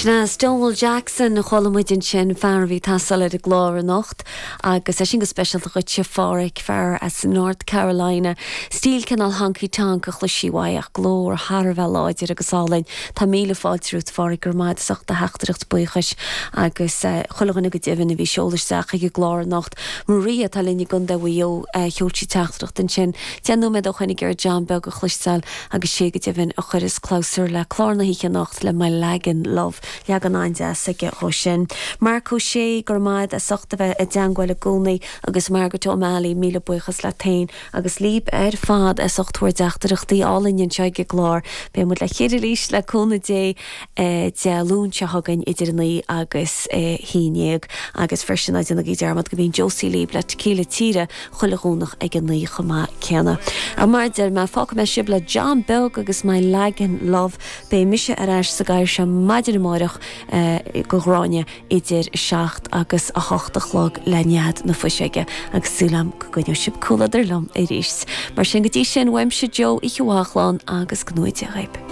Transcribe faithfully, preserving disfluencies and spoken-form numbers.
Sin é Stonewall Jackson a chuala muid ansin fear a bhí ag taisteal ar an gclár anocht agus é sin go speisialta dhuitse a Pháraic fear as North Carolina. Stíl cineál honky tonk a chloisfí uaidh ach glór thar a bheith láidir agus álainn. Tá míle fáilte romhat a Pháraic go raibh maith as ucht do theachtaireacht buíochais agus eh, chuile dhuine go deimhin a bhí ag seoladh isteach chuig an gclár anocht. Maria atá linn i gContae Mhaigh Eo eh, sheol sí teachtaireacht ansin. Deich nóiméad ó shoin ag iarraidh John Beag a chloisteáil agus sé go deimhin a chuireas clabhsúr le clár na hoíche anocht le My Lagan Love. Leagan an-deas aige dhó sin. Marc Ó Sé go raibh maith as ucht a bheith i dteagmháil i gcónaí agus Margaret O'Malley míle buíochas leat féin agus libh ar fad as ucht bhur dteachtaireachtaí álainn anseo ag an gclár. Beidh muid le chéile arís le cúnamh Dé eh, Dé Luain seo chugainn idir naoi agus eh, haon déag agus freisin ná déanaigí dearmad go mbíonn Josie libh le Tequila Tíre chuile Dhomhnach ag an naoi chomh maith céanna. A mar a deir mé fágfaidh mé sibh le John Beag agus My Lagan Love beidh mise ar ais sa gcathaoir seo maidin amárach eh, go Gráinne idir seacht agus a hocht a chlog le Nead na Fuiseoige agus súil agam go gcoinneoidh sibh comhluadar liom arís. Mar sin go dtí sin uaimse Joe oíche mhaith slán agus go ngnóthaí Dia dhaoibh.